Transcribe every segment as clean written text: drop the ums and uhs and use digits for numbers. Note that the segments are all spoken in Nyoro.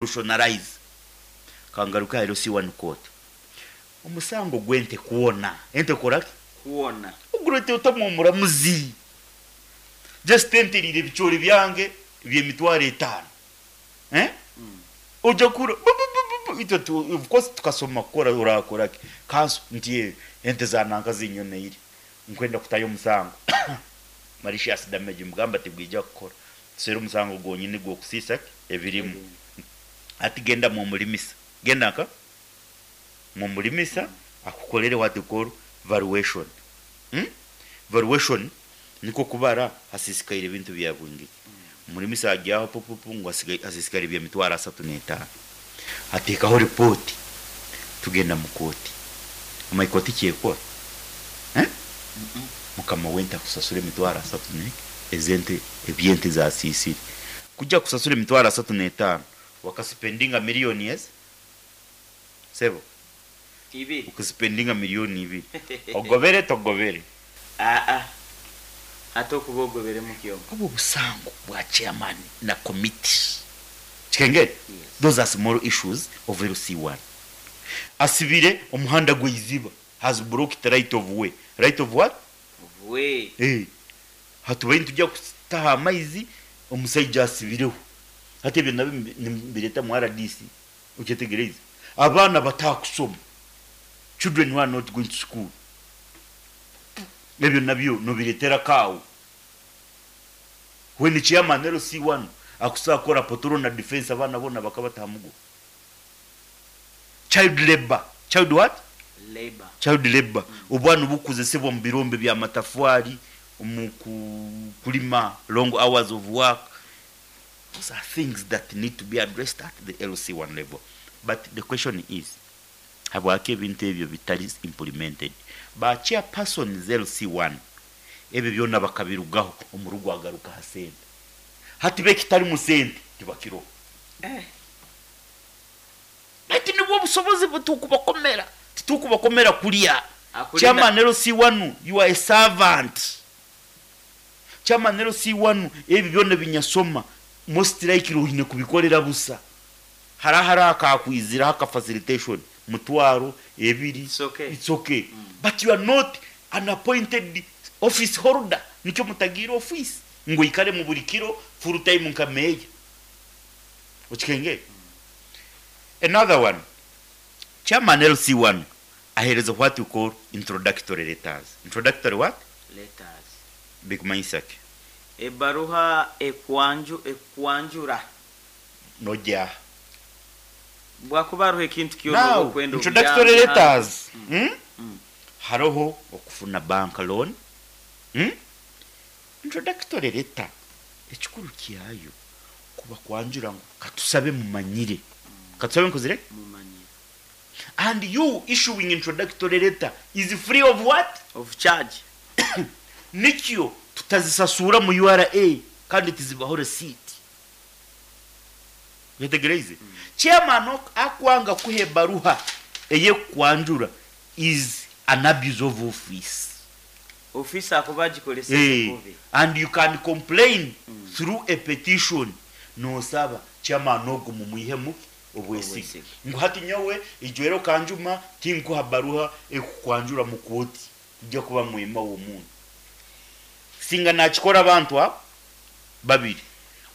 Revolutionarize. Kangaruka LC1 court, omusango gw'ente kwona, ente koraki? Kwona. Ogurete otamu omuramuzi, just ente eriire ebicoori byange by'emitwaro 50, eh? Ojja kura bu- bu- bu- bu- bu. Itwe of course tukasoma kukora, orakora ki kanso nti ente za nanka zinyoneire, nkwenda kutayo omusango malicious damage. Mugamba tigwija kukora, tusere omusango gwonyini gw'okusiisa ki ebirimu. Ati genda mumulimisa, genda nka mumulimisa akukolere what you call valuation, Valuation niko kubara hasisikaire ebintu bya bwingiki. Omulimisa ajyaho pupupu ngu hasisikaire by'emitwaro 35, ateekaho ripoti, tugenda mu kooti. Omanyi kooti kyekora, eh? Mukama w'ente akusasura emitwaro 30 ne ezente ebyente zasisire. Kujja kusasura emitwaro 35, wakaspendinga miliyoni ezi sebo. 2. Ukaspendinga miliyoni 2, ogobere togobere? Aa, ate okuba ogoberemu kyoma. Obwo obusango bwa chairman na committee kikengere. Yes. Those are small issues of LC1. Asibire omuhanda gweiziba, has blocked right of way. Right of what? Way. Eh, hatubaire nitujya kutaha amaizi, omusaija asibireho. Hati ebyo nabyo nibireta mu RDC. Okyetegereze, abaana batakusoma, children who are not going to school, ebyo nabyo nobiretera kaawo. When chairman LC1 akusobola kukora poltrona defense, abaana bona bakabatahamugo. Child labor. Child what? Labor. Child labor, obwana obukozesebwa mu birombe bya matafari, omu kulima, long hours of work. Those are things that need to be addressed at the LC1 level. But the question is, habwaki ebintu ebyo bitali implemented? Ba chairpersons LC1 ebyo byonna bakabirugaho, omurugo agaruka ha sente. Hati bekitali mu sente tibakiroho. Eh. Baitu nibwo obusobozi butukubakomera, titukubakomera kulya. Akulinda- Chairman LC1, you are a servant. Chairman LC1, ebyo byonna binyasoma, most likely oine kubikolera busa. Harahara akakwiziraho aka facilitation 20,000. It's okay. It's okay, but you are not an appointed office holder. Nikyo mutagira office ngo ikare mu buri kiro full time nka meya. Okikenge. Another one, chairman LC1 ahereza what you call introductory letters. Introductory what? Letters. Bikumanyisa ki? Ebbaruha ekwanjura. Nojja. Bwakuba hariho ekintu kyona Now, okwenda introductory obuyambi, letters, Haroho okufuna bank loan, Introductory letter ekikuru kyayo kuba kwanjura ngu katusabe mumanyire, katusabe nkozire. Mumanyire. And you issuing introductory letter is free of what? Of charge. Nikyo tutazisasura mu URA kandi tizibaho receipt. Wetegereze, chairman akwanga kuha ebaruha eyekwanjura is an abuse of office. Ofisi akuba agikolesa kubi. And you can complain through a petition, nosaba chairman ogwo mumwihemu obwesige. Obwesige. Ngu hati nyowe ijwero kanjuma tinkuha baruha ekukwanjura mu kooti, kujja kuba mwema w'omuntu. Singa nakikora abantu abo babiri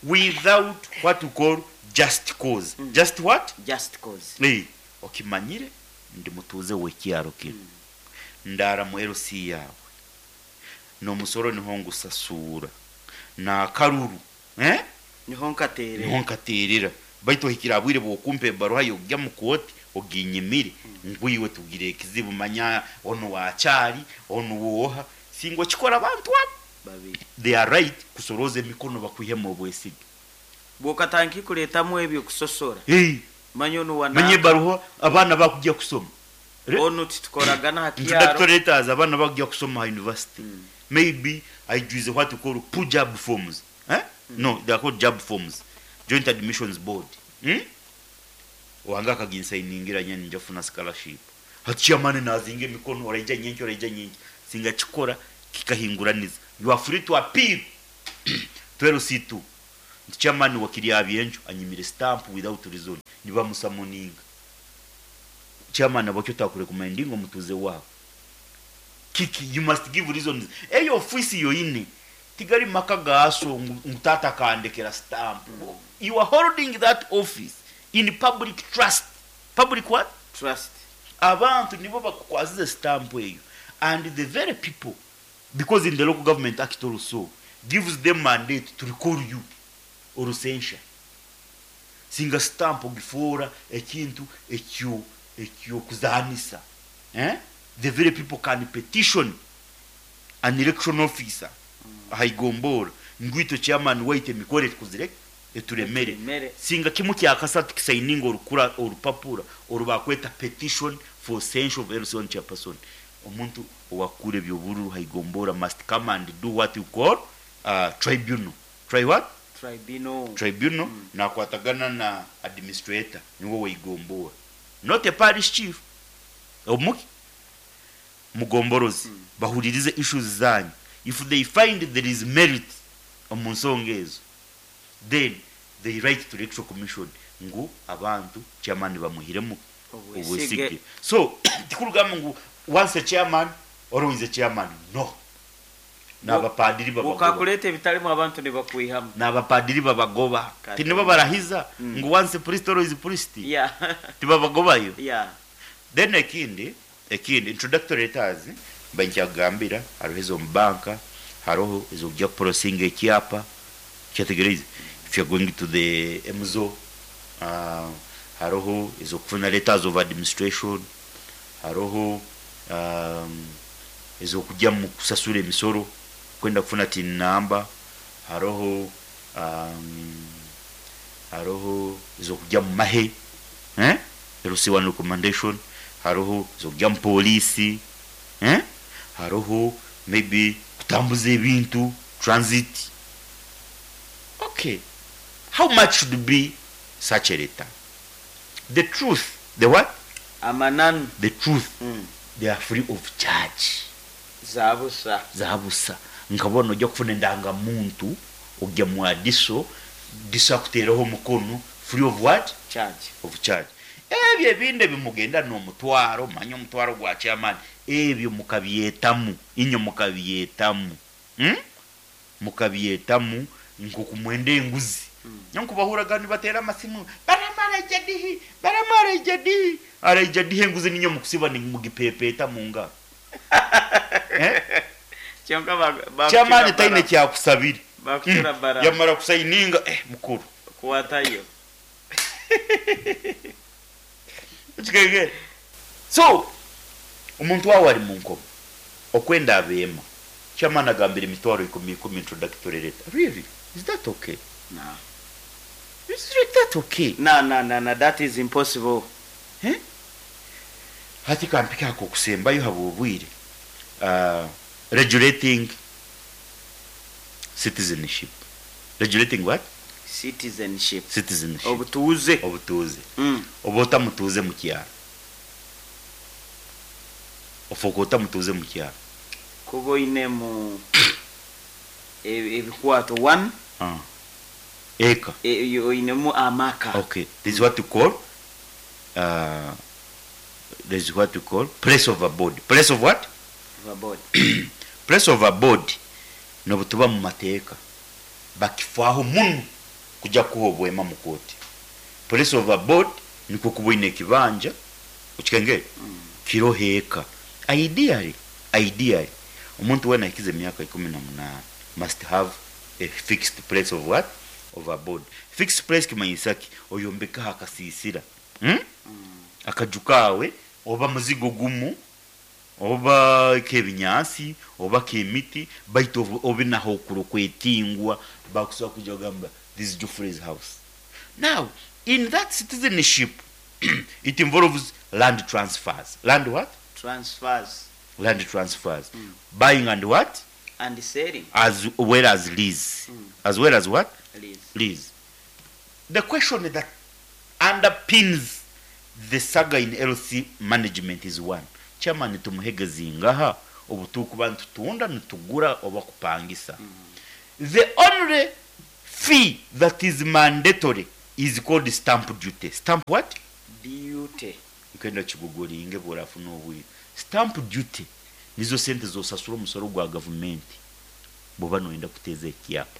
without what we call just cause. Just what? Just cause. Eh, okimanyire ndi mutuuze w'ekyaro kino, ndara mu LC yawe, n'omusoro niho ngusasuura n'akaruru, eh? Niho nkateerera. Niho nkateerera, baitu ohikira bwire bwokumpa ebaruha yokujya mu kooti oginyimire, ngwiwe tugire ekizibu. Manya ono wakyali ono woha. Singa okikora abantu abo babiri, they are right kusoroza emikono bakwihemu obwesige. Bwokatandika kuleetamu ebyo kusosora, Hey, manya ono manye wana ebaruha abaana bakujya kusoma. Ono titukoragana ha kyaro. Introductory letters, abaana bakujya kusoma ha university, maybe aijuize what we call PUJAB forms, eh? No, they are called JAB forms, Joint Admissions Board, Wange akaginsayiningira nyani njafuna scholarship. Hati chairman nazinga emikono, oraija nyenki, oraija nyenki. Singa kikora kikahinguraniza, you are free to appeal to LC2. Nti chairman wa Kiryabyenjo anyimire stamp without reason, nibamusummoninga. Chairman abakyo takurecommendinga omutuze waabo. Kiki, you must give reasons. Eyo ofisi yoine tigali maka gaaso ngu tata kandekera stamp. You are holding that office in public trust. Public what? Trust. Abantu nibo bakukwazize stamp eyo, and the very people, because in the Local Government Act also gives them mandate to recall you or censure. Singa stamp ogifuura ekintu ekyo ekyokuzanisa, eh? The very people can petition an election officer ahaigombora ngwito chairman waite emikore tukuzire eturemere. Eturemere. Singa kimu kyakasatu kisigninga orukura orupapura orubakweta petition for censure of LC1 chairperson. Omuntu owakura ebyobururu haigombora must come and do what you call tribunal. Try what? Tribunal. Tribunal. Nakwatagana na administrator niwe waigombora, not a parish chief omuki mugomborozi. Bahuririze issues zanyu. If they find there is merit omu nsonga ezo, then they write to Electoral Commission ngu abantu chairman bamuhiremu obwesige. Obwesige. So tikurugamba ngu once a chairman, always a chairman. No, n'abapadiri babagoba. Ukakuleta ebitalimu abantu nibakwihamu. N'abapadiri babagoba. Kati. Tinibo barahiza ngu once priest, always priest. Tibabagobayo. Then ekindi introductory letters bankyagambira, hariho ezo banka, hariho ezokujya kuprocessinga ekyapa kyategereze if you're going to the MZO, hariho ezokufuna letters of administration, hariho ezokujya mu kusasura emisoro, kwenda kufuna TIN number, hariho ezokujya mu mahe, eh? LC1 recommendation, hariho ezokujya mu polisi, eh? Hariho maybe kutambuza ebintu, transit. Okay, how much should be such a letter? The truth, the what? Amananu. The truth, they are free of charge. Zabusa. Zabusa. Nkabona ojja kufuna endangamuntu ojja mu adiso diso akuteeraho omukono free of what? Charge. Of charge. Ebyo ebindi ebimugenda n'omutwaro, manya omutwaro gwa chairman, ebyo mukabyetamu inyo, mukabyetamu, Mukabyetamu nkokumwenda enguzi. Nyankubahuraga nibatera amasimu, baramara ijadihi, baramara ijadihi, ara ijadihi enguzi ninyo mukusiba nimugipepeta mu ngaro, eh? Kyonka Chairman taine kyakusabira. Bakucura bara. Yamara kusigninga, mukuru kuwatayo. Kigegere. So omuntu wawe ari mu nkomo okwenda abeema, chairman agambira emitwaro 10 10 introductory letter. Really, is that okay? No. Is that okay? No, that is impossible. Eh? Hati kampika ako kusembayo habwa obwire, regulating citizenship. Regulating what? Citizenship. Citizenship. Obutuuze. Obutuuze. Oba otamutuuze mu kyalo, ofuuka otamutuuze mu kyalo. Kuba oinemu ebikwato one. Ah. Eka. Oinemu amaka. Okay, this is what you call place of abode. Place of what? Overboard. Place of abode nobutuba mu mateeka bakifaaho muno kujja kuha obwema mu kooti. Place of abode nikwo kuba oine ekibanja okikengere kiroho eka. Ideally omuntu wena ahikize emyaka 18 must have a fixed place of what? Of abode. Fixed place kimanyisa ki? Oyombekaho akasiisira, Akaju kaawe oba muzigo gumu oba k'ebinyaasi oba k'emiti, baitu obe naho okuro kwetingwa bakusobola kujja kugamba, "This is Geoffrey's house." Now in that citizenship it involves land transfers. Land what? Transfers. Land transfers, buying and what? And selling. As well as lease. As well as what? Lease. Lease. The question that underpins the saga in LC management is one: chairman tumuhege zingaha obutukuba nitutunda, nitugura oba kupangisa? The only Fee that is mandatory is called stamp duty. Stamp what? Duty. Nkenda kigugulinge bworafuna obwire. Stamp duty nizo sente zosasura omusoro gwa gavumenti bwoba noyenda kuteeza ekyapa.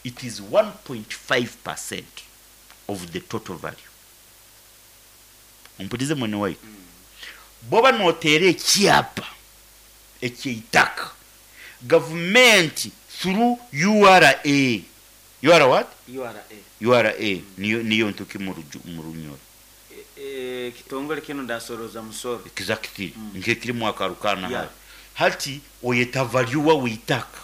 It is 1.5% of the total value. Ompurize mwene waitu. Bwoba noteera ekyapa ekyeitaka, gavumenti through URA, URA what? URA. URA niyo ntuki mu Runyoro. Kitongole kino ndasoroza musoro. Exactly. Nkekirimu akarukana. Yeah. Hati oyeta valuer weitaka.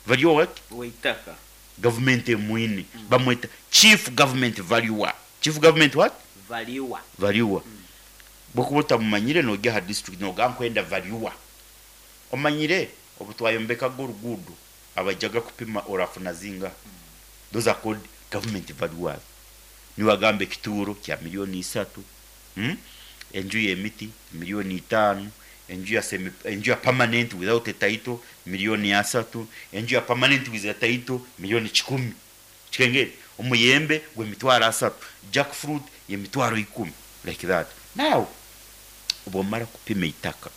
Valuer what? Weitaka. Government emwine. Bamweta chief government valuer. Chief government what? Valuer. Valuer. Bwokuba otamumanyire nojya ha district noga nkwenda valuer. Omanyire obutwayombekaga oruguudo abajaga kupima orafuna zinga. Those are called government valuers. Niwagamba ekituuro kya 3 million, Enju y'emiti 5 million, enju ya semi, enju ya permanent without a title 3 million, enju ya permanent with a title 100 million. Kikengere omuyembe gwe 30,000, jackfruit ye 10,000, like that. Now obwomara kupima itaka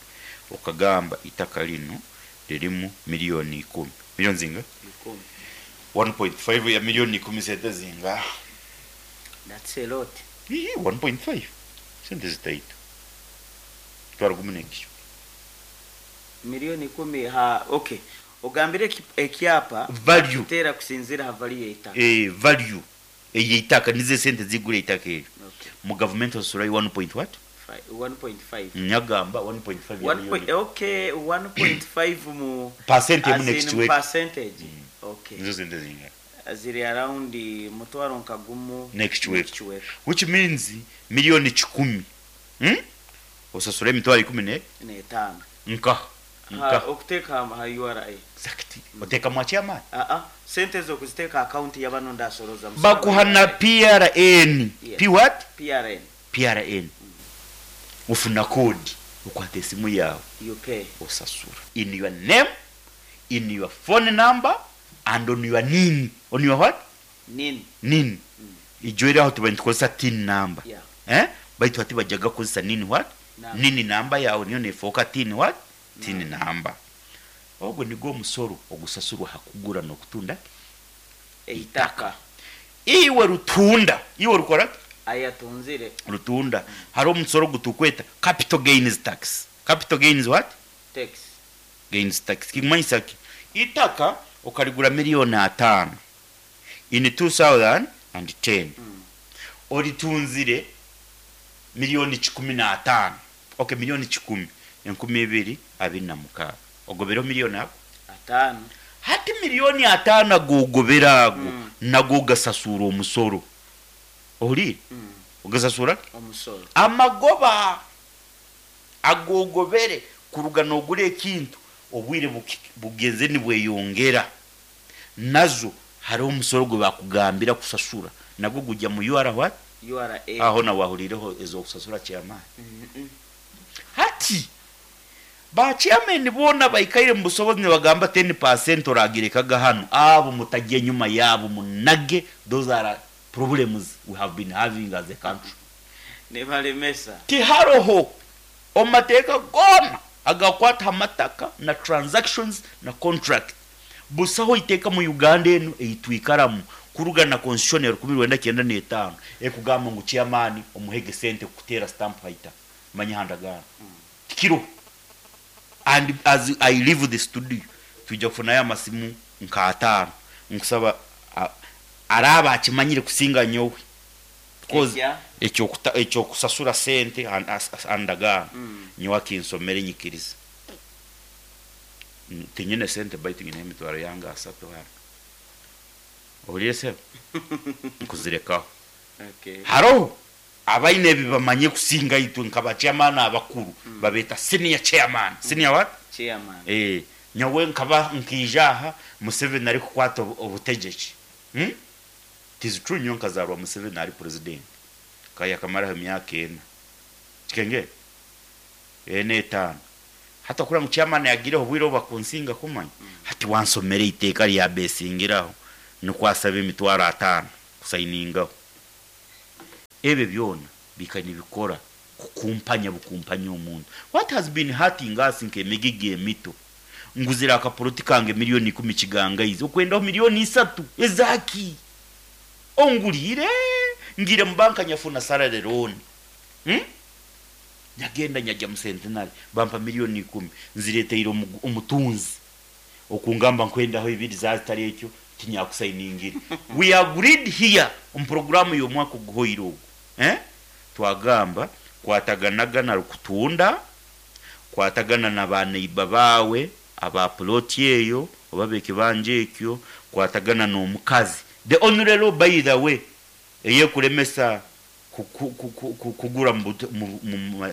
okagamba itaka lino lirimu 10 million. Miliyoni zinga? 10. 1.5 ya 10 million sente zinga? That's a lot. Ii, 1.5 sente zitaito twara gumu nekisho. 10 million ha, okay. Ogambire ekyapa value tera kusinzira ha value yeitaka. Value eyeitaka nize sente zigura eitaka eryo. Okay. Mu government osasurayo 1 point what? 1.5. Nyagamba 1.5 ya One point, million. Okay, 1.5 mu Percent emu as in next week. Percentage. Okay. Nizo sente zinga? Ziri around mutwaro nka gumu Next week. Next week. Which means 100 million, Osasura 115 ne 5. Nka nka Ha, okuteeka ha URA. Exactly. Oteka mwa chairman. Ah ah, sente zo kuziteeka account y'abano ndasoroza musoro. Bakuha na PRN. Yeah. P what? PRN. PRN. Ufuna kodi ukwata esimu yawe, You pay. osasura in your name, in your phone number and on your NIN. On your what? NIN. NIN. Ijo aho tuba nitukozesa TIN number. Yeah. Eh, baitu hati bajaga kukozesa NIN what? Number. NIN number yawe niyo nefoka TIN what? TIN number. Ogwo nigwo omusoro ogusasurwa hakugura n'okutunda Eitaka. Iwe rutunda, iwe rukora Ayatunzire. rutunda, hariho omusoro gutukweta capital gains tax. Capital gains what? Tax. Gains tax kimanyisa ki? Itaka ukarigura 5 million in 2010, oritunzire 115 million. Okay, 100 2026, ogobereho miliyoni ago 5. Hati 5 million agogobera ago, nago gasasura omusoro. Ohurire? Ogasasura Omusoro. Amagoba agogobere kuruga nogura ekintu, obwire bugenze nibweyongera, nazo hariho omusoro gwe bakugambira kusasura, nagwo gujya mu UR what? URA. Aho nawe wahurireho ezo kusasura chairman. Hati ba chairman bona baikaire mu busobozi nibagamba 10% oragirekaga hano, abo mutagiye nyuma yabo munage. Those are problems we have been having as a country. Nibalemesa. Tiharoho omumateeka goona agakwata amataka na transactions na contract, busaho iteeka mu Uganda enu eitwikaramu kuruga na constitution ya 1995 ekugamba ngu chairman omuhege sente kuteera stamp haita manya handagano tikiro. And as I leave the studio, tujja kufunayo amasimu nka 5 nkusaba araba akimanyire kusinga nyowe. Because Ekya? Ekyokusasura sente andagaano, nyowe akinsomere nyikiriza. Tinyine sente baitu nyine emitwaro yange 30 hano. Ohuriire sebo? Nkuzirekaho. Okay. Haroho abaine ebi bamanye kusinga itwe nka bachairman abakuru, babeta senior chairman. Senior what? Chairman. Eh, nyowe nkaba nkija aha Museveni ari kukwata obutegeki, It is true, nyowe nkazarwa Museveni ari president, kaya kamaraho emyaka 4, kikenge ena 5. Hata kura ngu chairman yagireho obwire obu bakunsinga kumanya. Hati wansomere iteeka lya besingiraho. Nukwo asabe 500,000 kusayiningaho. Ebyo byona bika nibikora kukumpanya bukumpanya omuntu. What has been hurting us nk'emigigi emito, nguzire akapoloti kange 10,000,000 kigangaizi, okwendaho 3,000,000 ezaki? Onguriire, ngiire mu banka nyafuna salary loan. Nyagenda nyajya mu Centenary bampa 10,000,000, nzireteire omutunzi okungamba nkwendaho 2 zazitari ekyo tinyakusayiningire. We agreed here omu programu y'omwaka oguhoire ogu. Twagamba kwataganaga na rukutunda, kwatagana na ba neighbor baawe aba plot eyo oba b'ekibanja ekyo, kwatagana n'omukazi. The only law, by the way, eyekulemesa kugura mu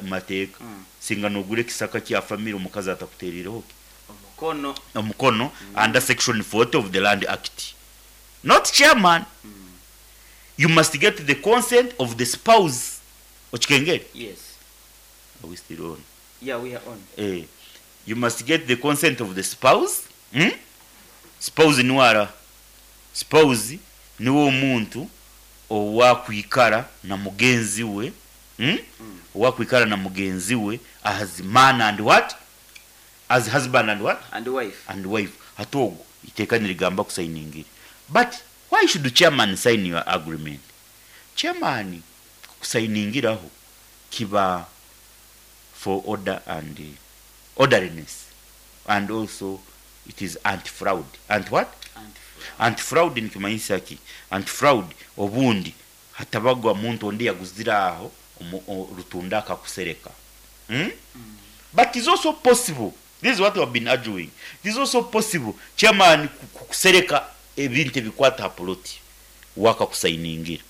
mateeka, singa nogura ekisaka kya family omukazi atakuterireho ki? Omukono. Omukono, under section 40 of the Land Act. Not chairman. You must get the consent of the spouse. Okikengere? Yes. Are we still on? Yeah, we are on. You must get the consent of the spouse. Spouse niwe ara. Spouse niwe omuntu owakwikara na mugenzi we. Owakwikara na mugenzi we as man and what? As husband and what? And wife. And wife. Hati ogwo iteeka nirigamba kusayiningire. But why should the chairman sign your agreement? Chairman kusayiningiraho kiba for order and orderliness, and also it is anti-fraud. Anti what? Anti-fraud. Anti-fraud nikimanyisa ki? Anti-fraud obundi hatabagwa muntu ondi yaguzira aho rutunda akakusereka. But it's also possible. This is what we have been arguing. It is also possible chairman kusereka ebintu ebikwata ha plot waka kusayiningira.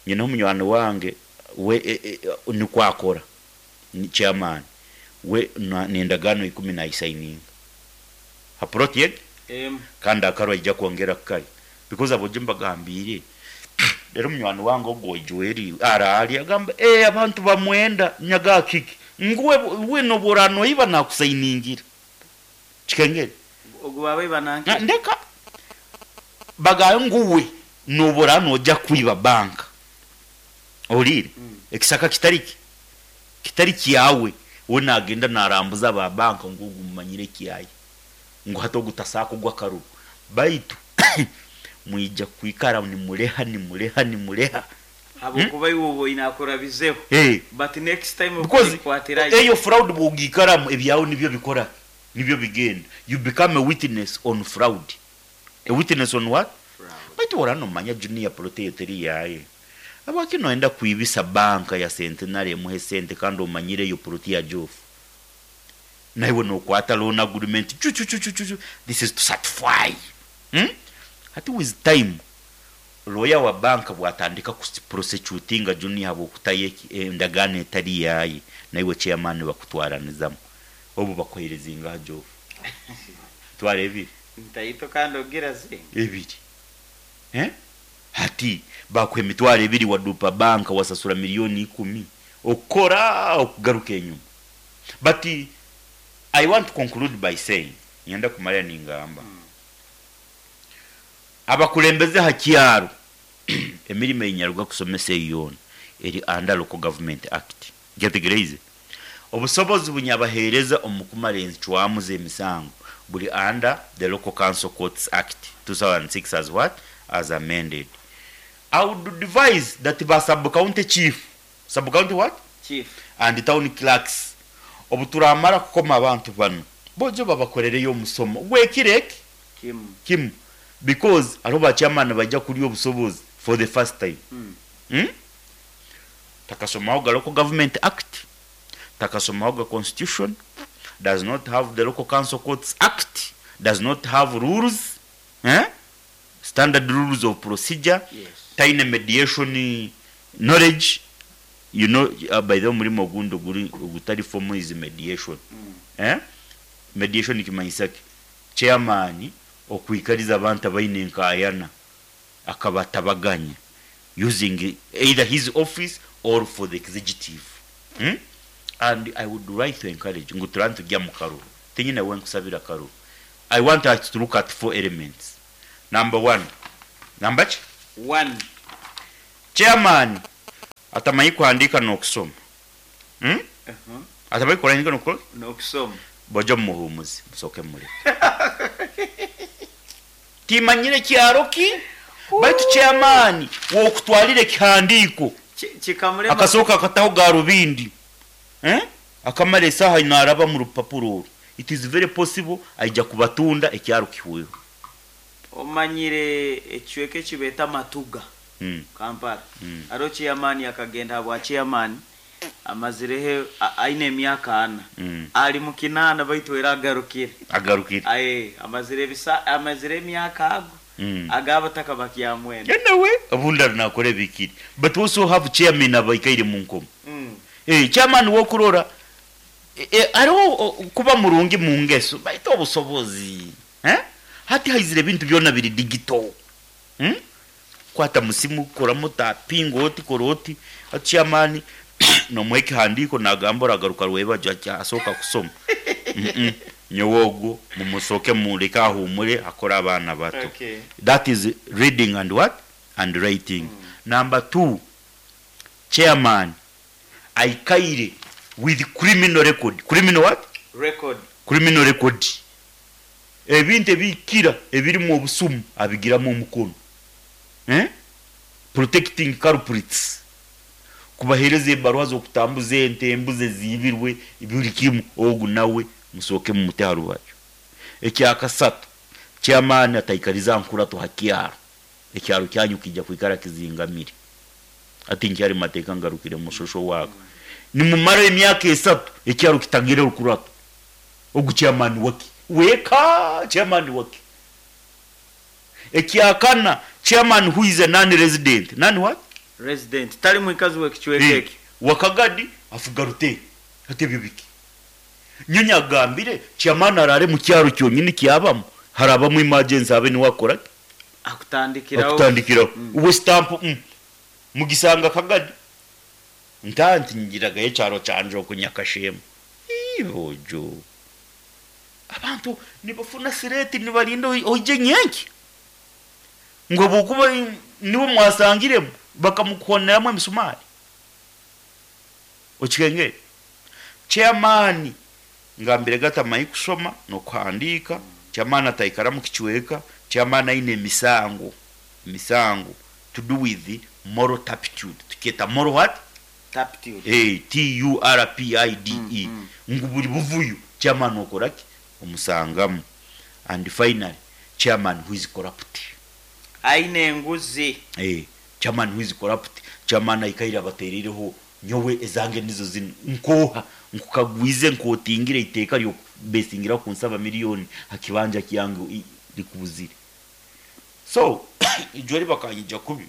Nyina omunywani wange we nikwakora ni chairman we nendagano 10 nayisayininga ha plot ye. Kandi akarwa ijja kwongera kai because abo mbagambire rero munywani wange ogwo Joel arali agamba abantu bamwenda nyaga kiki nguwe we noborano iba nakusayiningira kikengere ogwo babe bananke ndeka bagayo nguwe noborano ojja kwiba banka olire ekisaka kitariki kitari kiyawe we nagenda narambuza ba banka ngugu mumanyire kiyaye ngo hato gutasako gwa karubu baitu mwija kwikara ni muleha ni muleha ni muleha abo kuba iwo inakora bizeho. But next time because ukwatira eyo fraud bugikara ebyawo nibyo bikora nibyo bigenda. You become a witness on fraud. A witness on what? Fraud. Baitu orano manya junior proteteri yaye abaki noenda kuibisa banka ya Centenary muhe sente kandi omanyire yo proti ya Jof naiwe nokwata loan agreement chu chu chu chu chu. This is to satisfy. Ati with time lawyer wa banka bwatandika prosecutinga junior abo kutaye endagane etari yaye naiwe chairman bakutwaranizamu obu bakohereza ingaha Jof tware ebiri ntaito kandi ogira zinga ebiri hati bakwe 2,000,000 wadupa banka wasasura 10,000,000 okora okugaruka enyuma. But I want to conclude by saying nyenda kumara ningamba abakulembeze hakyaro emirimo enyaruga kusomesa eyona eri under Local Government Act. Nketegereze obusobozi bunyabahereza omukumara enzicwamu z'emisango buli under the Local Council Courts Act 2006 as what? As amended. I would advise that ba sub-county chief, sub-county what? Chief. And town clerks obuturamara kukoma abantu bano bojo babakorereyo omusomo gwekirek kim because aro ba chairman bajja kuli obusobozi for the first time. Takasomaho Local Government Act, takasomaho Constitution, does not have the Local Council Courts Act, does not have rules, standard rules of procedure. Yes. Tiny mediation knowledge, you know, by the mulimo gundo guri gutari form is mediation. Mediation kimanyisaki chairman okuikariza abantu abaine nkayana akabatabaganya using either his office or for the executive. And I would like to encourage ngu turantu gya mukaru tinyina we nkusabira karu. I want us to look at 4 elements. Number 1, Namba ki? One. Chairman atamanyi kuhandiika n'okusoma. Atamanyi kuhandiika n'okukola? N'okusoma. Bojo mumuhumuze, musooke mumuleke. Timanyire kyaro ki, baitu chairman w'okutwalira ekihandiiko Kikamulema. Akasooka akataho garubindi, eh? Akamara esaaha naaraba mu rupapuro oru. It is very possible aija kubatunda ekyaro kihweho. Omanyire ekicweka eki beeta Matuga, Kampala. Haroho chairman akagenda habwa chairman amazireho aine emyaka 4. Ali mu 8 baitu era agarukire. Agarukire. Aye, amazire ebisa amazire emyaka ago ag'abataka bakyamwenda. Nawe obundi ari nakora ebikiri. But we also have chairmen abaikaire mu nkomo. Chairman w'okurora hariho kuba murungi mu ngeso baitu obusobozi. Eh? Hati haizire ebintu byona biri digital. Kwata musimu koramu tapinga oti kora oti. Hati chairman nomuha ekihandiiko nagamba oragaruka rwebagyo asooka kusoma. Nyowe ogwo mumusoke mureke ahumure akore abaana bato. That is reading and what? And writing. Number 2, chairman aikaire with criminal record. Criminal what? Record. Criminal record. Ebintu ebikira ebirimu obusumu abigiramu omukono. Protecting culprits. Kubahereza ebaruha z'okutambuza ente, embuzi eziibirwe, buri kimu ogu nawe musooke mumute ha rubaju. Ekyakasatu, chairman ataikariza nkurato ha kyaro. Ekyaro kyanyu kijja kwikara kizingamire. Ati nkyari mateeka ngarukire mushosho wako. Nimumara emyaka 3 ekyaro kitagire rukurato. Ogu chairman waki? Weka chairman waki? Ekyakana, chairman who is a non-resident. Non what? Resident. Tali mwikazi w'ekicweka eki. Wakagadi afuga ruteri. Ate ebyo biki? Nyonyi agambire chairman arare mu kyaro kyonyini kyabamu. Harabamu emergency abe niwe akora ki? Akutandikiraho. Akutandikiraho. Uwe stamp mugisanga Kagadi. Ntanti ngiragayo ekyaro kyanje okunyakashemu. Ibojo. Abantu nibafuna sireti nibarinda oije nyenki. Ngo bukuba nibo mwasangiremu bakamukoneramu emisumari. Okikengere. Chairman ngambire gatamanyi kusoma n'okuhandiika, chairman ataikara mu kicweka, chairman aine emisango. Emisango to do with the moral turpitude. Tukyeta moral what? Turpitude. T U R P I D E. Ngu buri buvuyo chairman okoraki omusangamu. And finally chairman who is corrupt. Aine enguzi. Chairman who is corrupt. Chairman aikaire abatereireho nyowe ezange nizo zino nkoha nkukagwize nkotingire iteeka ryo besingira kunsaba miliyoni hakibanja kyange likubuzire. So ijweri bakanyija kubi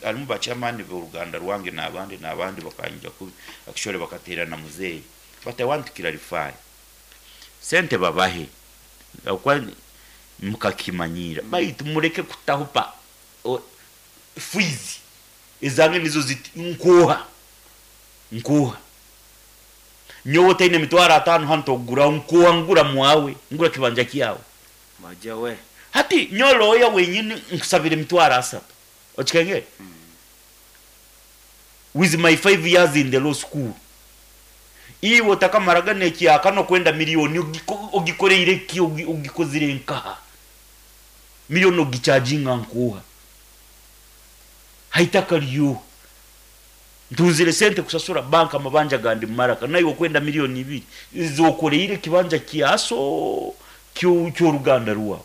alimu ba chairman b'oruganda rwange n'abandi n'abandi bakanyija kubi akishore bakaterana muzeyi. But I want to clarify. Sente babahe akwa mukakimanyira baitu mureke kutahupa fizi ezange nizo ziti nkoha nkoha nyowe taine mitwaro 5 hano togura nkoha ngura mwawe ngura kibanja kyawe maja we hati nyoloya wenyini nkusabire mitwaro 3 okikenge. With my 5 years in the law school iwe takamaraga nekyaka no kwenda miliyoni ogikoreire ki ogikozire nkaha miliyoni ogichajinga nkoha haitaka ryo ntuzire sente kusasura banka amabanja gandi maraka nayo kwenda miliyoni 2 zokoreire kibanja kiaso ky'oruganda rwawe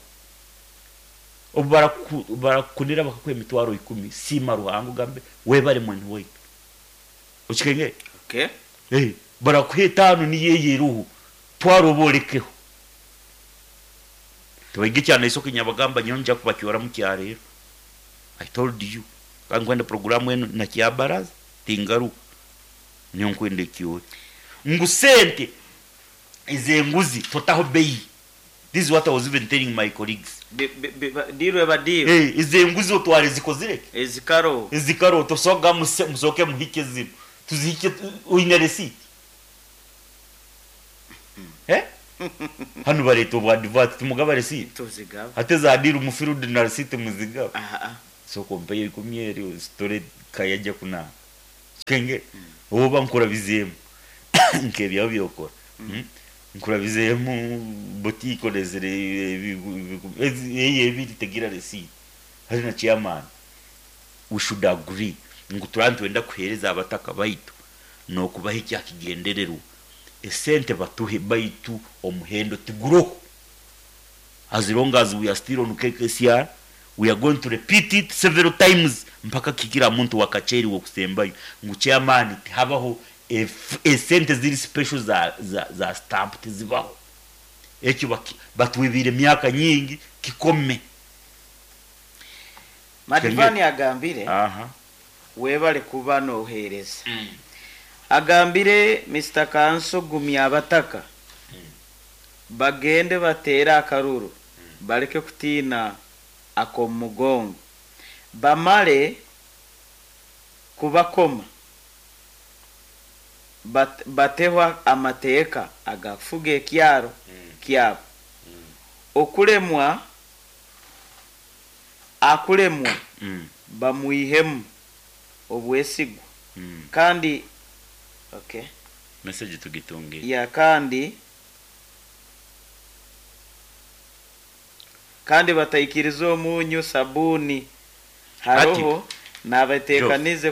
obarakunira bakakwe emitwaro 10 sima ruhango gambe webare mwene waitu okikenge. Okay. Barakuhe 5 ni yeyeruhu twarobolekeho tubage cyane isoko nyabagamba nyonja kubacyora mu cyarero. I told you kankwenda programu eno na kyabaraza tingaruka niyo nkwende kiyo ngusente izenguzi totaho bei. This is what I was even telling my colleagues. Dirwe badiro. Izenguzi otware zikozireke ezikaro ezikaro tosoga musoke muhike zino tuzihike uine receipt. Hano bareta obwa advert tumugaba receipt tuzigaba ate zadira umufirude na receipt muzigaba. Sooka ompeyo 10 eri ositore kayajja kunaaba. Kenge oba nkurabizeemu nk'ebyawe byokora. Nkurabizeemu boutique olezere eyo ebiri tegira receipt. Hari na chairman. We should agree ngu turaba nitwenda kuheereza abataka baitu n'okubaha ekyakigendererwa. Esente batuhe baitu omuhendo tiguroho. As long as we are still on KKCR, we are going to repeat it several times mpaka kikira muntu wakacheri wokusembayo ngu chairman tihabaho esente ziri special za stamp tizibaho. Ekyo batwibire emyaka nyingi kikome. Madivani agambire webale kuba nohereza. Agambire Mr. Kanso gumya abataka. Bagende batera akaruru. Baleke kutina akomugongo. Bamale kubakoma. Batehwa amateeka agafuga ekyaro kyabo. Okulemwa akulemwa bamuihemu obwesigwa. Kandi okay. Message tugitunge. Ya kandi bataikiriza omunyu sabuni haroho nabatekanize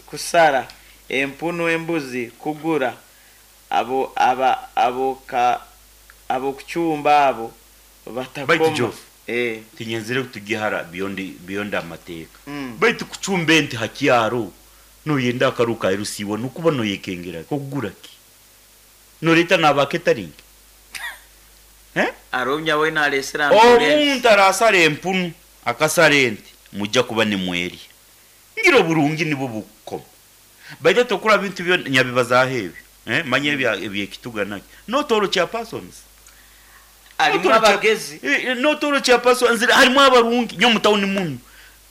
kusara empunu embuzi kugura abo aba abo kuchumba abo batakoma. Tinyenzire kutugihara beyond amateka. Baitu kuchumba ente hakyaro noyenda akaruka erusiwa nukuba noyekengera kugura ki noreta nabaketaringi. Aromya we nalesera ambulance. Omuntu arasara empunu akasara ente mujja kuba ni mweri. Ngira burungi nibo bukoma. Baita tokura bintu byo nyabibaza hebi. Manye ebyekituga naki. No toro cha persons. Alimu abagezi. No toro cha persons harimu abarungi nyo mutawuni muno.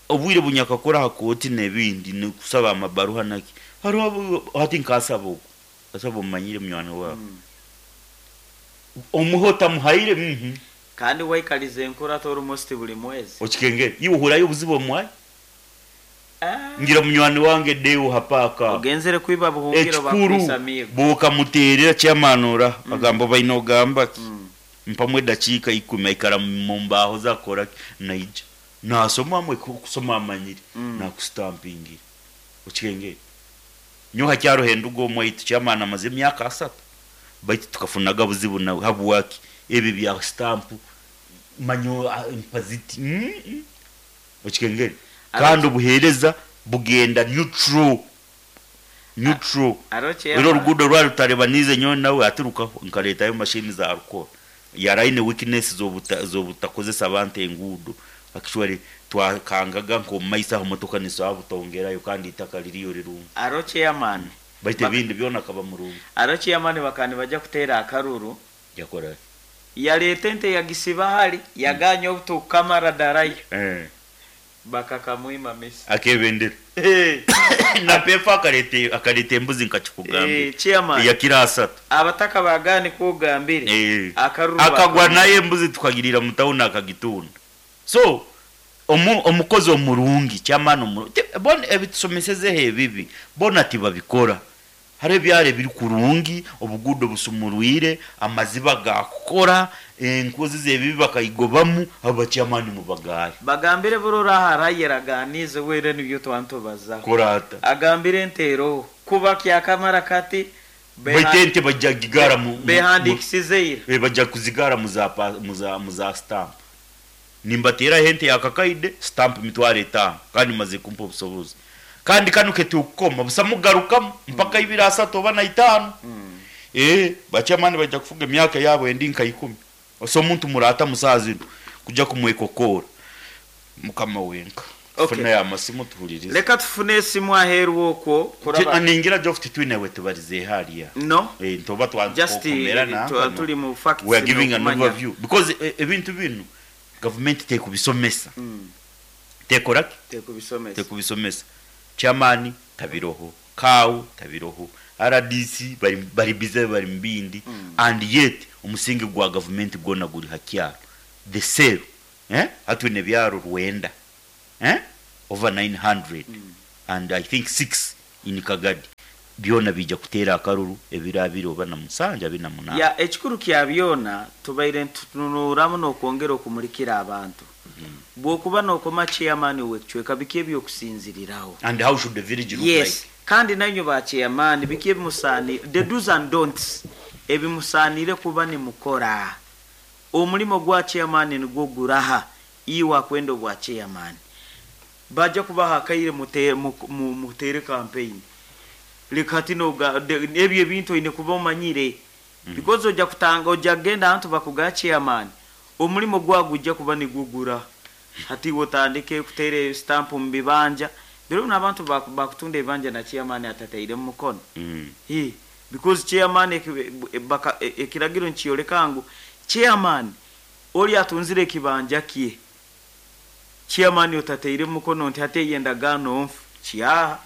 Obwire bunyakakora hakoti nebindi nikusaba amabaruha naki. Hariho hati nkasaba oku. Asaba omanyire munywani wawe. Omuhota muhaire Kandi waikalize enkura almost buli mwezi. Okikengere iwe uhurayo obuzibu omwayi. Ngira munywani wange deo hapaka. Ogenzere kwiba buhungiro bakusamira. Buka muterera chamanura agamba baino gamba. Mpamwe dakika 10 aikara mu mbaho zakora naija. Nasoma amwe kusoma amanyire na kustampingira. Okikengere. Nyoha kyaro hendugo omwaitu chamana amaze emyaka 3. Baitu tukafunaga buzibu na habwaki ebi bya stamp manyo impaziti. Okikengere. Kandi obuhereza bugenda neutral. Ero rugudo rwa rutarebanize nyo nawe aturuka nkaletayo machine za alcohol. Yaraine weakness zobutakozesa abantu engudo. Actually twakangaga nko maisa motoka niso abutongerayo kandi itaka liriyo rirungi. Aro chairman baite bindi byona kaba murungi. Aro chairman bakani bajja kutera akaruru. Yakora. Yalete ente yagisiba hali yaganya obutukamara darayo. Bakakamwima mesi. Akebendera. Na pefa akalete embuzi nkakikugambe. Chairman. Yakira asatu. Abataka bagani kugambire. Akaruru akagwa naye embuzi tukagirira mutawuna akagitunda. So omukozi omurungi chairman omurungi bona ebitusomeseze ebibi bona tibabikora. Hari byare biri kurungi obugudo busumurwire amaziba gakora enkozi zebibi bakayigobamu abo chairman mu bagari. Bagambire burora harayeraganize were nibyo twantobaza. Korata. Agambire entero kuba kyakamara kati baitente bajja gigara mu behandikisizeira. Bajja kuzigara muza stamp. Nimbatera hente yakakaide stamp mitware 5 kandi maze kumpa obusobozi. Kandi kanu ketukoma busamugaruka mpaka ibira 3 oba na 5. Bachamani bajja kufuga emyaka yabo endi nka 10. Oso omuntu murata musazi kujja kumwekokora. Mukama wenka. Okay. Funa ya masimu tuhulirize. Leka tufune esimu aheru okwo kuraba. Ningira joft twine we tubarize haliya. No. Ntoba twankomera na. Tuli mu facts. We are giving an overview because ebintu bino government tekubisomesa. Tekoraki? Tekubisomesa. Tekubisomesa. Chairman tabiroho, KAU tabiroho, RDC bari bize bari mbindi and yet umusingi gwa government gona guri hakyaro. The sale hatwine byaro rwenda. Over 900 and I think 6 in Kagadi. Byona bija kuteera akaruru ebiro abiri oba na musanju abiri na munaana. Ya, ekikuru kya byona tubaire ntutunuramu n'okwongera okumulikira abantu. Bw'okuba n'okoma chairman w'ekicweka, biki ebyokusinziriraho? And how should the village look? Yes. Like kandi nanywe ba chairman, biki ebimusaanire, the do's and don'ts ebimusaanire kuba nimukora? Omulimo gwa chairman nigwo guraha? Iwe akwenda obwa chairman, bajja kubaha akaire mutere campaign. Leka hati ebyo ebintu oine kuba omanyire, because ojja kutanga, ojja kugenda ahantu bakugaa chairman, omulimo gwawe gujja kuba nigugura. Hati iwe otandike kuteera stamp mu bibanja biro bino, abantu bakutunda ebibanja na chairman atatairemu mukono. Because chairman ekiragiro nikiyoleka ngu chairman oli atunzire ekibanja kye, chairman otataire mukono nti hati eyo endagaano nfu kyaha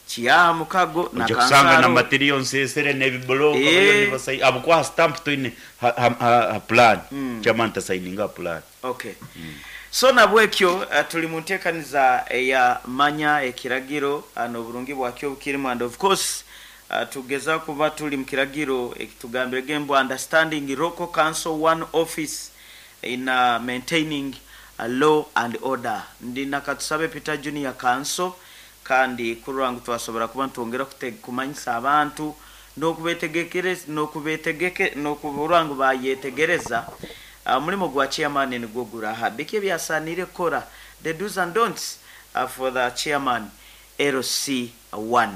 kyaha mukago na Ojja kusanga na kansaro. Material nsesere n'ebibulooka bariyo nibasai abukuha stamp toine ha plan. Chairman tasayininga plan. Okay, so nabwekyo tuli mu nteekaniza eya manya ekiragiro n'oburungi bwakyo obukirimu, and of course tugeza kuba tuli mu kiragiro ekitugambire gembu understanding local council one office in maintaining law and order. Ndi nakatusabe Peter Junior Council, kandi kurora ngu twasobora kuba nitwongera kumanyisa abantu n'okubetegekereza n'okubetegeke n'okuburora ngu bayetegereza mulimo gwa chairman nigwo guraha, biki ebyasanire kukora, the do's and don'ts for the chairman LC1.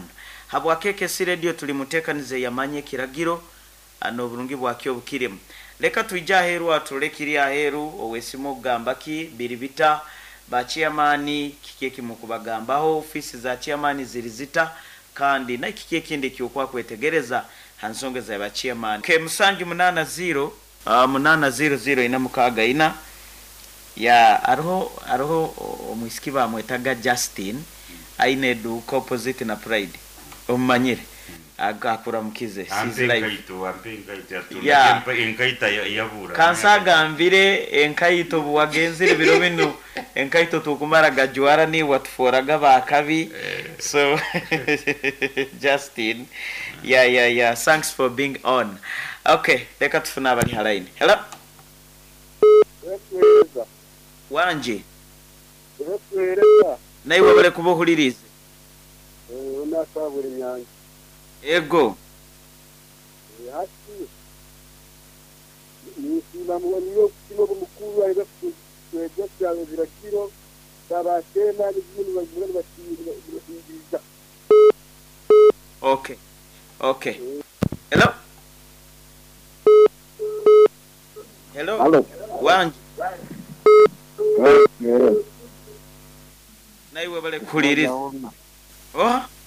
Habwa KKC Radio tuli mutekanize yamanye ekiragiro n'oburungi bwakyo obukirimu. Leka twije aheeru, atule kiri aheeru owesimu okugamba ki biri bita, ba chairman kiki ekimukubagambaho, ofisi za chairman ziri zita, kandi na kiki ekindi ekyokwa kwetegereza ha nsonga za ba chairman. Ke 780 800 464. Ya, hariho omwisiki bamwetaga Justin, aine eduuka opposite na Pride, omumanyire, akuramukize. Ampe She's live. Enkaito, ampe enkaito. Yeah. Yatunda enkaita yabura. Kansagambire enkaito buwagenzire biro bino, enkaito tukumara gajwara ni watuforaga bakabi. So Justin, yeah, thanks for being on. Okay, leka tufune abali ha line. Hello. Wetwereza. Wanje. Wetwereza. Naiwe bale kuba ohulirize. Onasabura enyanza. Ego. Hati nisiima niyo okusima omukuru aija kutwegesa ebiragiro babatema n'ebindi bagura nibakiiriza. Okay, hello, hello. Halo. Wanje. Wetwereza. Naiwe bale kuhuliriza oh.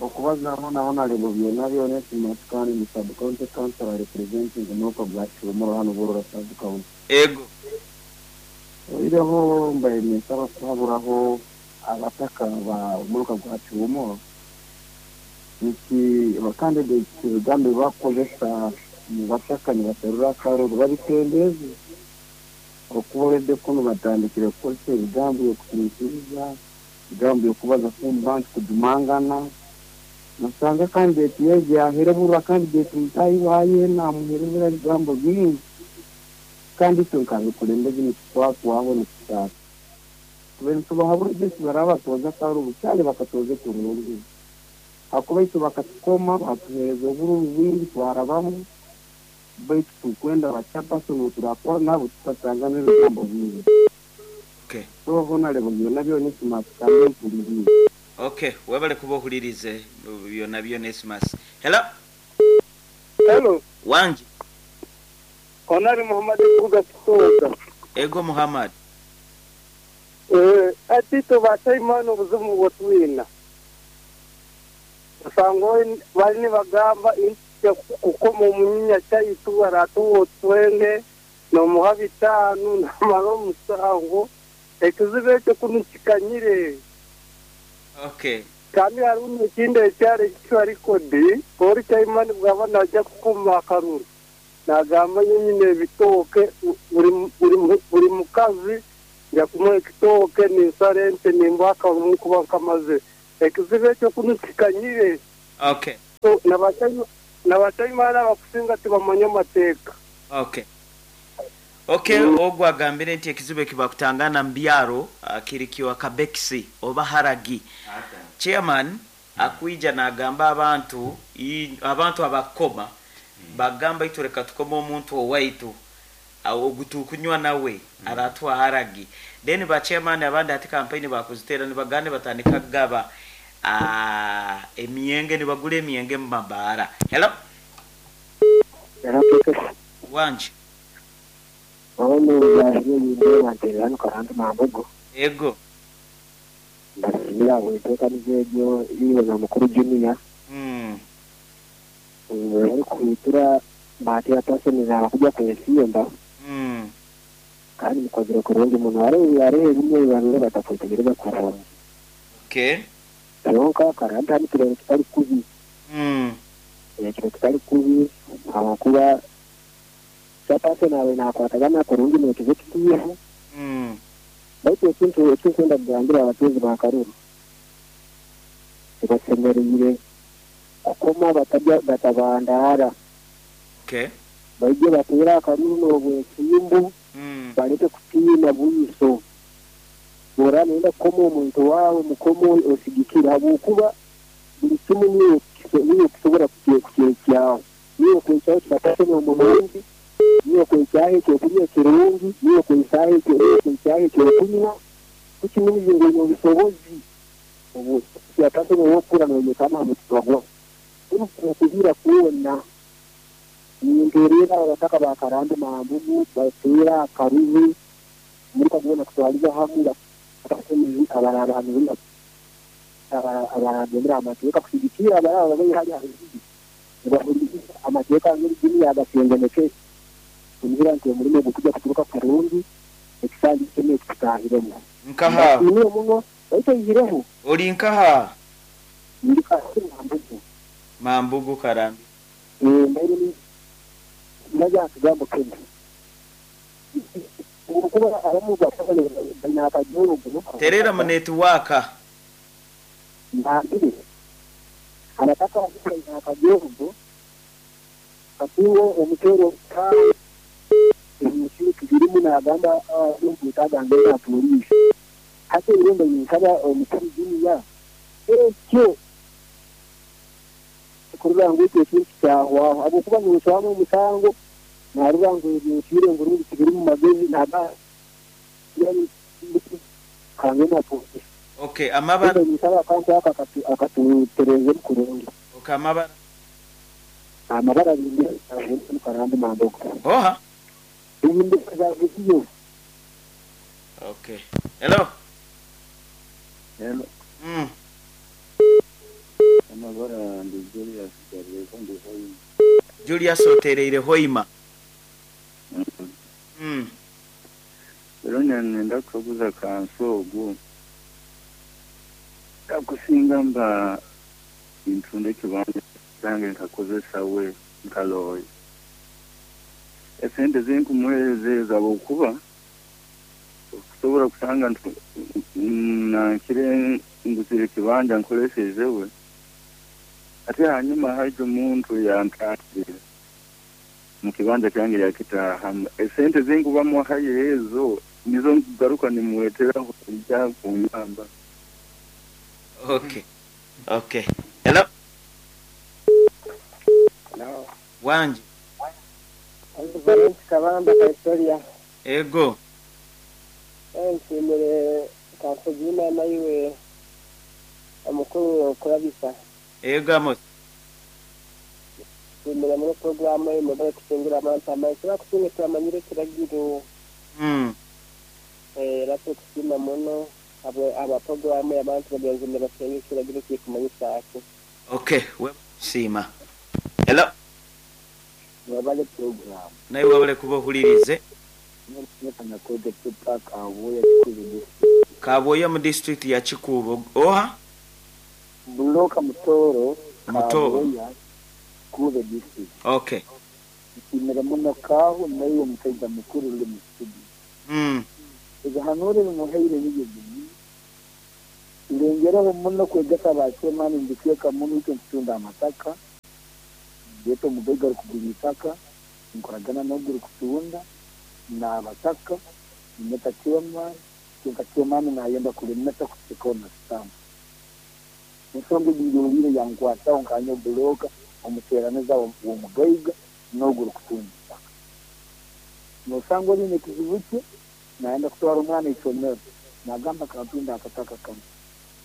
Okubazaho naho nalebo byona byona esimatukani mu sub county council representing Moko Black Omoro hano Burora sub county. Ego. Oireho mbaye ninsaba kuhaburaho abataka ba omuruka gwa Kiwomoro nti abakandidate ebigambo bakozesa mu bataka nibaterura akaruru babitendeze okuboledde kuno batandikire kukozesa ebigambo by'okutinitiriza, ebigambo by'okubaza kumba nti kujumangana. Nasanga candidate yeje aherebura candidate mutayi waye namuherebura ebigambo bingi, kandi itwe nkabikulembeze nitukwatwaho nitusaasa tube nitubahabura byesi barabatoza akaruru kyale bakatoze kurungi hakuba itwe bakatukoma batuhereza obururu bwingi twarabamu, baitu tukwenda bachapaso turakora nabo tutasanga n'ebigambo bingi. So honalebo byonna byona esimatukande mpulirize. Okay, webale kuba ohulirize byonna byona esimas. Hello. Hello. Wanje. Honari Muhammad kuga kutoza. Ego Muhammad. Ati tubachaimana obuzibu bwotwina usanga bali nibagamba kukoma omunyinya kyaitu baratuwa otwenge nomuha 5 namara omusango ekizibu ekyo kunu kikanyire. Okay. Kandi hariho n'ekindi ekyaro ekitwarikodi ori chaimani bwaba najja kukoma akaruru nagamba nyine ebitooke buri mukazi Nja kumuha ekitooke ninsara ente nimbuha akarumu nkuba nkamazire. Ekizibu ekyo kunu kikanyire. Okay. So na bachaimani abakusinga tibamanya amateeka. Okay. Okay, ogu agambire nti ekizibu ekibakutangana mu byaro kiri kyo akabekisi oba haragi. Chairman akwija nagamba abantu abantu abakukoma bagamba itwe leka tukome omuntu owaitu ogu tukunywa nawe aratuha haragi. Then ba chairman abandi hati kampeyini bakuzitera nibagamba nibatandika kugaba emyenge, nibagura emyenge mu mabaara. Hello? Wangi. Ego. Mbasimira bwetekaniza egyo iwe na mukuru Junior. Bari kuhitura batera paseni kujya kwesimba. Kandi mukozere kurungi muno hariho ebimwe babire batakwitegereza kurungi. Okay. Kyonka karanta hano kirero kitari kubi. Ekiro kitari kubi ahakuba kyapaseni awe nakwatagana kurungi nekizo kitiiho. Baitu ekintu ekinkwenda kugambira abatuuzi ba Karuru tibasemeriire kukoma batabandara. Okay. Baije bateera akaruru n'obwesimbu. Baleke kutiina bwiso. Bora nenda kukoma omuntu waawe mukomo osigikire habwokuba buli kimu niyo kisobora kukyekyaho. Niyo kwekyaho kibatasema omurungi, niyo kwekyaho ekyokurya ekirungi, niyo kwekyaho ekyokunywa. Kukimunize ngu oine obusobozi obu kyatasema owokukura noyekana aha mutima gwawe. Okuhira kwona ninterera abataka ba Karambi Mambugu bateera akaruru muri kagona kutwaliza hamwe abarabandira amateeka kusigikira abaraba bari hali abazibi nibahurikiza amateeka ng'ebigini yagasengeneke kugira nti omurimo gukujya kuturuka kurungi ekisanja kimwe kitahiremu. Nkaha muno baitu ihireho ori nkaha ndi Karambi Mambugu. Mambugu Karambi. Mbaire ndaja kigambo kene kuba abamu balina akajoro. Terera mu network. Mbambire abataka balina akajoro katingo omutero ka emisiri kirimu nagamba n'omutaga ngenda polisi hati irembo yinsaba omukuru junior ekyo kurura ngu ekintu kyahwaho habwokuba ninswamu omusango narura ngu ebintu ngurungi kibiri mu magezi naga kange na polisi. Okay, amabara ninsaba akantu aka akatutereze kurungi. Okay, amabara amabara bindi Karambi Mambugu. Oha ibindi zavugiyo. Okay. Hello. Hello. Amabara ndi Julius Gareko ndi Hoima. Julius otereire Hoima. Rero nenda kukuza kanso ogu. Akusinga mba intunde kibanja zange nkakozesa we nkaloye. Esente zinkumuhereza abokuba kusobora kusanga nankire nguzire kibanja nkoresheje we. Ate hanyuma haje omuntu yantatira mu kibanja kyange yakitaha esente zinkubamu hayezo nizo ngaruka nimuweteraho ijya kunyamba. Okay. Okay. Hello. Hello. Wangi. Kabamba Victoria. Ego. Nshimire kanso jina iwe omukuru kurabisa. Ego Amos. Nshimire muri programu y'umugore kusingira abantu amaisha kusinga turamanyire kiragiro. Rato kusima muno abo aba programu y'abantu bagenzi basenga kiragiro kikumanyisa ati. Okay, we sima. Hello. Wabale program. Naye wabale kuba ohulirize. Kaboya mu district ya Kikuubo. Oha? Buloka Mutoro. Mutoro. Kikuubo district. Okay. Nshimira muno kaho naye omusajja mukuru uri mu studio. Ebihanuuro ebimuhaire nibyo binu. Tulengereho muno kwegesa aba chairman mu bicweka munu itwe nitutunda amataka, ndeeta omugaiga arukugura itaka, nkoragana n'ogu rukutunda, n'abataka, ninyeta chairman, kyonka chairman nayenda kulemesa kuteekaho na stamp. Ensonga egi ngihuliire yankwataho nka nyowe bulooka omuteeraniza w'omugaiga n'ogu rukutunda itaka. Noosanga oli n'ekizibu kye, nayenda kutwara omwana isomero, nagamba kantunda akataka kanu.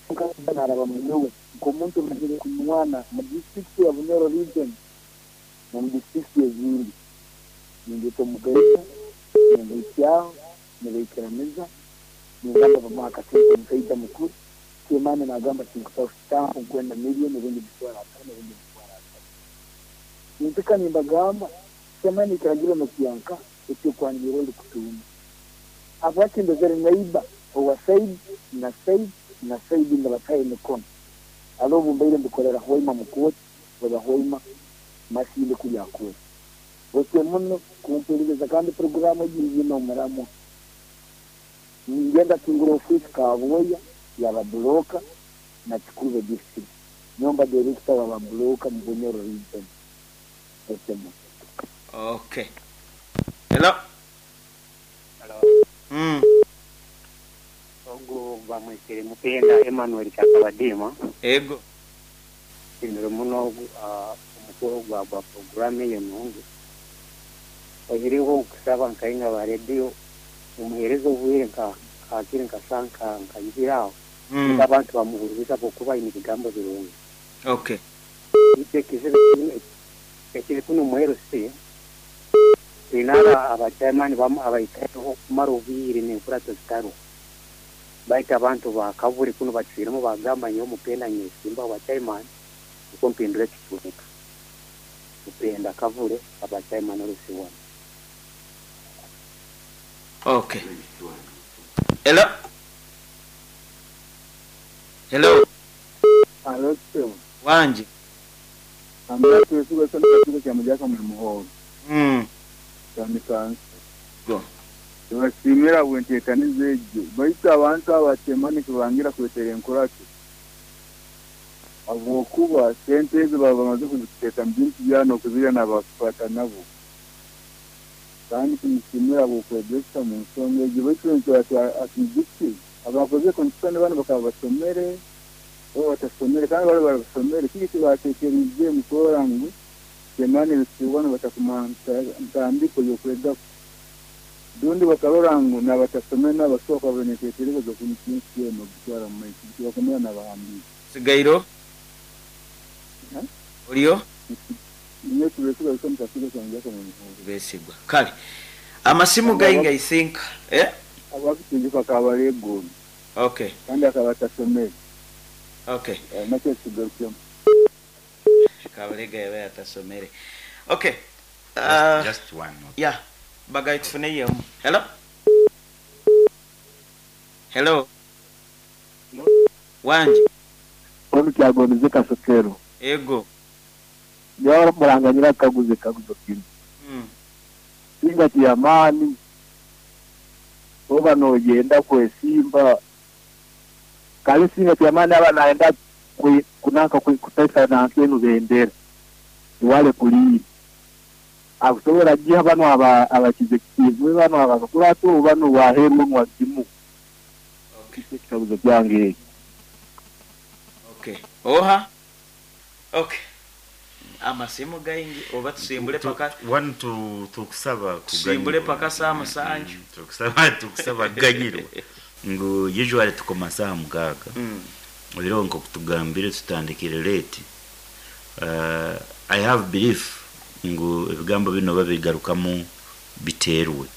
Kyonka naaraba munyowe nk'omuntu omazire kunywana mu disiturikiti ya Bunyoro region n'omu disiturikiti ezindi. Nindeeta omugaiga, nimbuhikyaho, nibaikiraniza, ningamba bamuha akasente omusaija mukuru, chairman nagamba tinkutaho stamp nkwenda million rundi 50,000 rundi 30,000. Nimpika nimbagamba chairman ekiragiro nokyanka eky'okwangira oli kutunda. Habwaki ndozere neighbor owa side na side na side nibataho emikono. Alo obu mbaire mbikolera Hoima mu kooti oba Hoima Masindi kuli akooti. Otyo muno kumpuliriza kandi puroguraamu egi nyine omuramwa. Ningenda kingura ofiisi Kabwoya yaba bulooka na Kikuube district. Nyomba director waba bulooka mu Bunyoro region. Otyo muno. Okay. Hello. Hello. Ogu bamwesere Mupenda Emmanuel Kyakabadiima. Ego. Nsiimire muno omukoro gwa gwa puroguramu eyo nungi. Oihireho nkusaba nka inywe aba rediyo mumuheereze obwire nka hakiri nka saaha nka ibiri aho nukwo abantu bamuhuririze habwokuba aine ebigambo birungi. Baitu ekizibu ekiri kunu omu LC, twine aba chairman bamu abaikaireho kumara obwire n'enkurato zitaroho. Baitu abantu ba Kaburi kunu bacwiremu bagamba nyowe Mupenda nyesimbaho bwa chairman nukwo mpindure ekicweka. Mupenda Kavule aba chairman LC 1. Okay. Hello. Hello. Alo ssebo. Wangi. Ambula twesigwa soni kakiiko kya Mujaka muli Muhoozi. Kya Go. Tubasiimira habw'enteekaniza egyo baitu abantu abo abakyemani nikibangira kwetera enkurato habwokuba sente ezo baba bamaze kuziteeka mu bintu byabo n'okuzirya n'abakukwata nabo. Kandi tumusiimira habw'okwegesa mu nsonga egyo baitu atwijukye abakozere constitution banu bakaba basomere oba batasomere kandi bali basomere kiki ekibateekeriize mu kurora ngu kyemani ebisibwano batakumuha ntandiko y'okwegako. Rundi bakarora ngu n'abatasomere nabo basobola kuba baine enteekereza z'okwimukya ensi enu n'okugitwara mu maiso tibakumira n'abahambiire. Sigairo. Oliyo? Ninyowe Tubesigwa Wilson Kakigo Kyanjaka mu Muhoozi. Besigwa. Kale. Amasimu gaingi I think. Eh? Abakutinjuka akaba ari egooni. Kandi akaba atasomere. Nakyo kigarukemu. Kabalega yaba yatasomere. Okay. Just one more. Yeah. Bagai tufune yemu. Hello? Hello? Wangi. Onu kyagonize kasokero. Ego. Nyawara muranganyira kaguze kaguzo kinu. Singa kiyamani. Oba nogenda kwesimba. Kale singa kiyamani aba naenda kunaka kutaisa na nkenu bendera. Wale kulii. Akusobola giha bano abakizekitivu bano abakurato bano waheru mwazimu. Ekikaguzo kyange. Okay. Oha. Okay. Amasimu gaingi oba tusimbule paka one to tukusaba tusimbule paka saa 7. Tukusaba kuganyirwa. Ngu usually tukoma saa 6. Rero nko kutugambire tutandikire late. I have belief ngu ebigambo bino babigarukamu biterwe.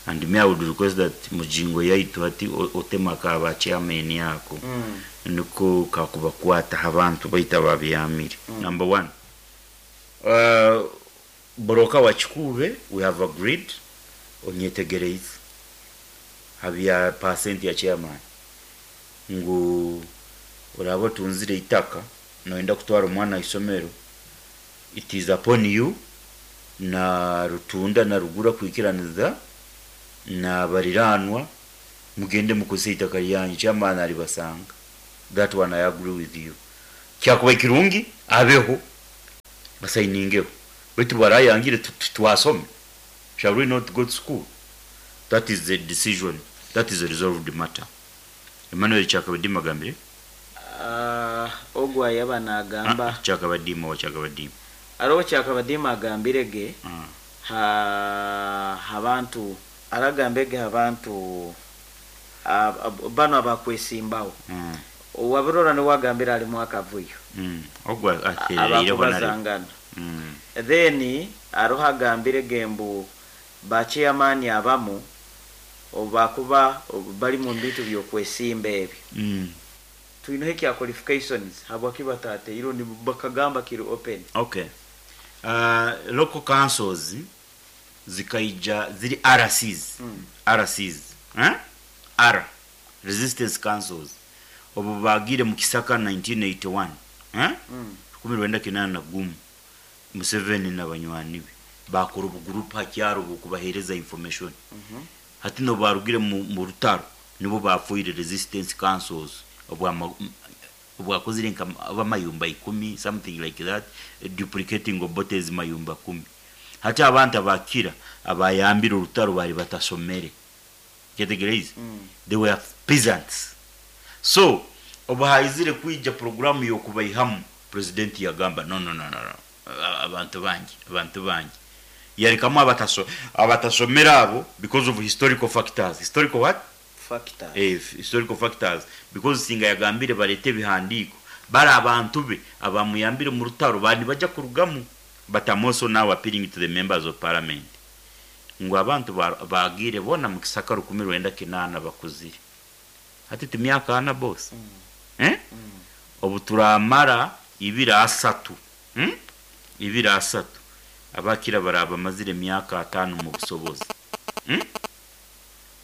And me I would request that mujingo yaitu ati otema ka ba chairman yako. Niko kakubakwata abantu baita babyamire. Number 1. Boroka wa Kikuube we have agreed onyetegereze habya percent ya chairman ngu oraba tunzire itaka noenda kutwara omwana isomero, it is upon you na rutunda na rugura kwikiraniza na bariranwa Mugende mukozese itaka lyanyu, chairman alibasanga. That one I agree with you. Kyakuba kirungi abeho basayiningeho, baitu barayangire twasome. Shall we not go to school? That is the decision, that is a resolved matter. Emmanuel Kyakabadima agambire. Ogwo ayaba nagamba. Kyakabadima wa Kyakabadima. Aroho Kyakabadima agambire ge ha habantu aragambege abantu bano abakwesimbawo. Owabirora niwagambira alimu akavuyo. Ogwo atereire. Abakubazangana. Then aroho agambire gembu ba chairman abamu obakuba bali mu bintu byokwesimba ebyo. Tuineho ekya qualifications habwaki batateire ni bakagamba kiri open. Okay. Local councils zikaija ziri RCs. RCs. Eh? R resistance councils. Obu bagire mu Kisaka 1981. Eh? 1981 Museveni n'abanywani be bakora obugurupu hakyaro bukubahereza information. Hati no barugire mu rutaro nibo bafuire resistance councils obwakozire nka abamayumba 10, something like that, duplicating obotes mayumba 10. Hati abantu abakira abayambira orutaro bari batasomere. Categories. They were peasants. So obahaizire kuija programu yokubaihamu, president yagamba no no no no no, abantu bangi, abantu bangi. Yarekamu abatasomera abo because of historical factors. Historical what? Factors. Historical factors, because singa yagambire barete ebihandiko bari abantu be abamuyambire mu rutaro bandi bajya kurugamu. But I'm also now appealing to the members of parliament ngo abantu bagire bona mu Kisaka 1980 bakuzire hati timyaka ana boss. Obu turamara 23 23 abakira baraba mazire myaka 5 mu busobozi.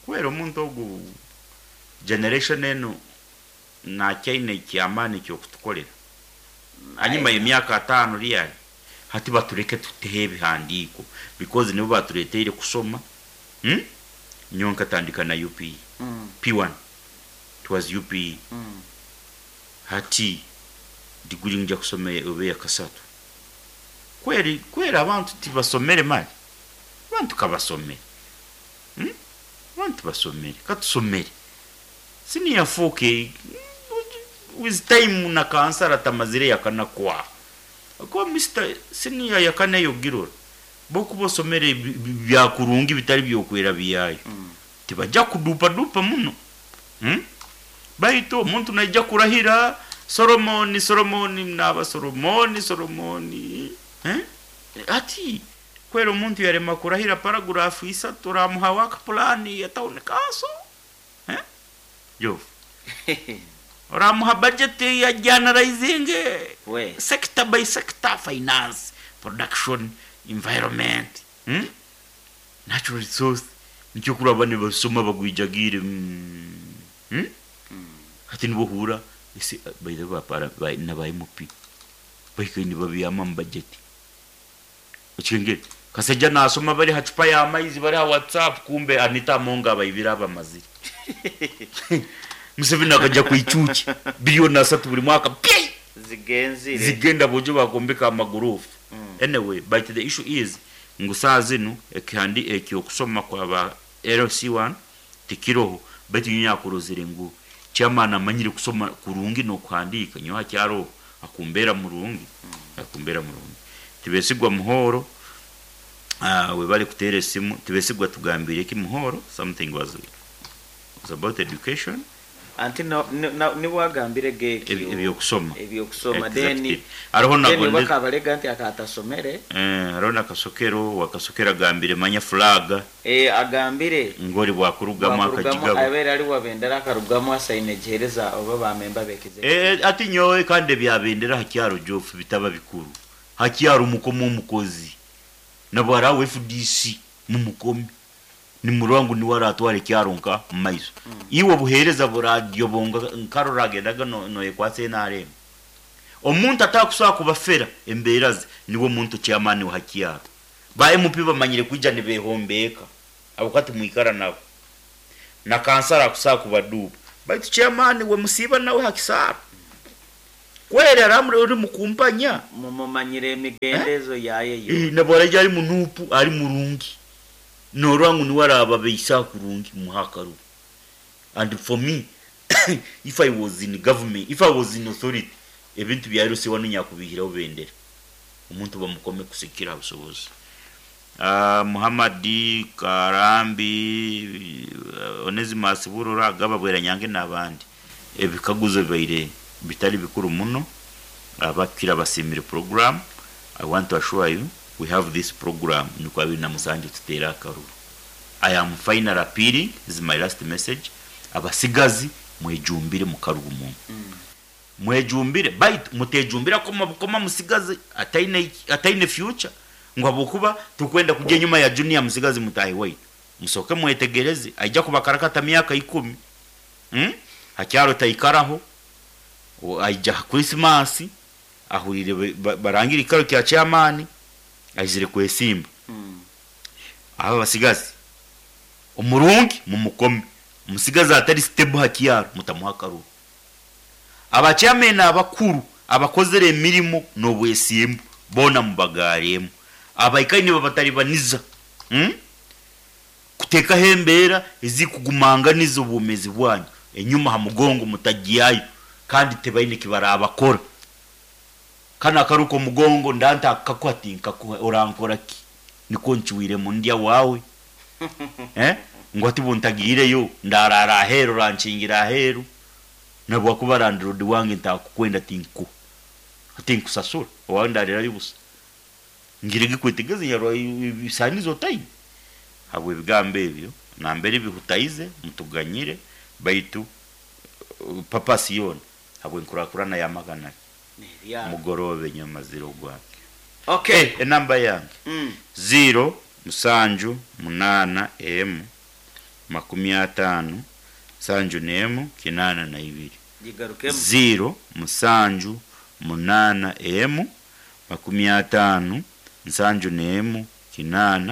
Kwera omuntu ogu generation eno nakyaine kyamani kyokutukolera hanyuma y'emyaka 5 ryali hati batureke tutehe ebihandiiko because nibo batureteire kusoma. Nyonka tandika na UPE. P1 it was UPE. Hati diguri nja kusoma obe yakasatu. Kweri kwera abantu tibasomere mali, abantu kabasomere. Abantu basomere, katusomere. Senior 4K with time na kansara tamazire yakana kwa. Ko Mr. Senior yakana yogirora. Boku bosomere bya kurungi bitari byokwera biyayo. Tibajja kudupa dupa muno. Baito omuntu naija kurahira Solomoni Solomoni naba Solomoni Solomoni. Ati kwera omuntu yarema kurahira paragraph isatu ramuha work plan ya town council. Yo. Ramuha budget ya generalizing sector by sector, finance, production, environment, natural resource. Nicyo kuraba ne basoma bagwijagire. Ati nibohura ese by the way para na ba MP bayikini babiyama mu budget. Okingere kasajja nasoma bari hacupa ya maizi bari ha WhatsApp, kumbe Anita Monga bayibira abamaziri. Museveni akajja kuicuki bilioni 3 buri mwaka zigenzire zigenda bojo bagombeka amagurufu. Anyway, but the issue is ngu saa zinu ekihandi ekyo kusoma kwa ba LC1 tikiroho, but nyakurozere ngu chairman amanyire kusoma kurungi no kuhandika nyo hakyaro akumbera murungi. Akumbera murungi tibesigwa muhoro. We bali kutere simu tibesigwa tugambire ki muhoro something was about education. Anti niwagambire geki ebyokusoma ebyokusoma deni aroho nagonde bakabalega nti akatasomere aroho nakasokero wakasokera gambire manya flag agambire ngori bwakurugamu akajigabo abera ali wabendera akarugamu asaine jereza oba bamemba bekize ati nyowe kandi byabendera hakyaro jofu bitaba bikuru hakyaro mukomo omukozi nabara FDC mumukomi ni murangu ni waratware kyaronka maiso. Iwe buhereza buradio bonga nkarorage no yekwase NRM omuntu atakusaba kubafera emberaze niwo muntu chairman wa hakyaro ba MP bamanyire kuija ne behombeka abukati muikara nabo. Na kansara akusaa kubaduuba, baitu chairman we musiiba nawe hakisaaro kweri aramuri ori mukumpanya. Mumumanyire emigendezo yaye yo. Nabwaraija ari munuupu, ari murungi, norora ngu niwe arababeisa kurungi, muha akaruru. And for me, if I was in government, if I was in authority, ebintu bya LC wanu nyakubihiraho bendera, omuntu bamukome kusikira busobozi. Muhammadi Karambi, Onesimus Burora, Gaba Bweranyange n'abandi, ebikaguzo bibaire bitari bikuru muno. Abakira basimire program. I want to assure you we have this program nikwo 27 tutera akaruru. I am final appealing, this is my last message. Abasigazi mwejumbire mu karuru muno, mwejumbire, baitu mutejumbira koma bukoma musigazi ataine future, ngu habwokuba tukwenda kujya enyuma ya junior musigazi mutahi waitu. Musoke mwetegereze, aija kubakarakata myaka 10. Hakyaro taikaraho, aija Christmas ahurire barangira ikaro kya chairman, aizire kwesimba. Aba basigazi omurungi mumukome, omusigazi atari stable hakyaro mutamuha akaruru. Abachairman abakuru abakozere emirimo n'obwesimbu bona mubagaremu, abaikaine babatalibaniza, Kuteekaho embeera ezikugumanganiza obwomezi bwanyu enyuma ha mugongo mutagyayo, kandi tebaine kibarabakora. Kana akaruka omugongo ndanta akakuha tinkakuha, orankora ki? Nikwo ncuwiremu ndya wawe. Ngu ati buntagiireyo ndarara aheeru, orankingira aheeru, nabwakuba landlord wange ntakukwenda tinkuha, tinkusasura owawe ndarirayo busa. Ngirege kwetegeza yarwa ebisanizo time. Habwe ebigambo ebyo nambere bihutaize mutuganyire, baitu papa siyona habwe nkurakurana ya magana mugorobe nyuma zero gwange. Okay. Enamba yange 0 7 8 M 50 71 82. Jigarukemu. 0 7 8 M 50 71 8.